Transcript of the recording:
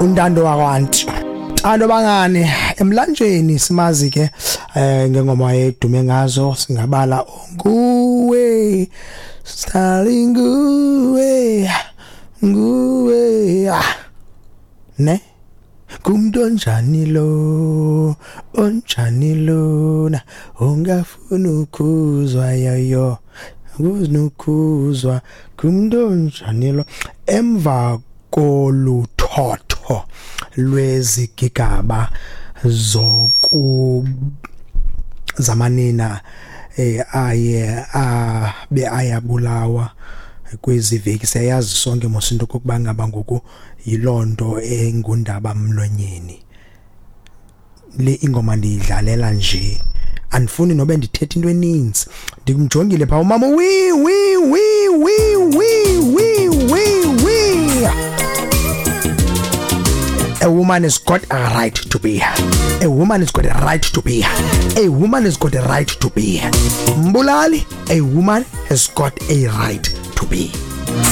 Untando wakwanti. Thando bangani emlanjeni simazi ke ngengoma edume ngazo, singabala nguwe Starling, nguwe nguwe, ah. Ne kumntu onjani lo, onjani lona ongafuna ukuzwa yoyo kunokhuzwa, kumntu onjani lo emva koluthotho lwezigigaba zoku zamanina aye abe ayabulawa kwezi veki. Siyayazi sonke mos into kokuba ngaba ngoku yilonto engundaba mlonyeni. Le ingoma ndiyidlalela nje, andifuni nobe ndithethe into eninzi. Ndimjongile phaa umama, wi wi wi wi wi wi wi wi. A woman has got a right to be. A woman has got a right to be. A woman has got a right to be. Mbulali, a woman has got a right to be.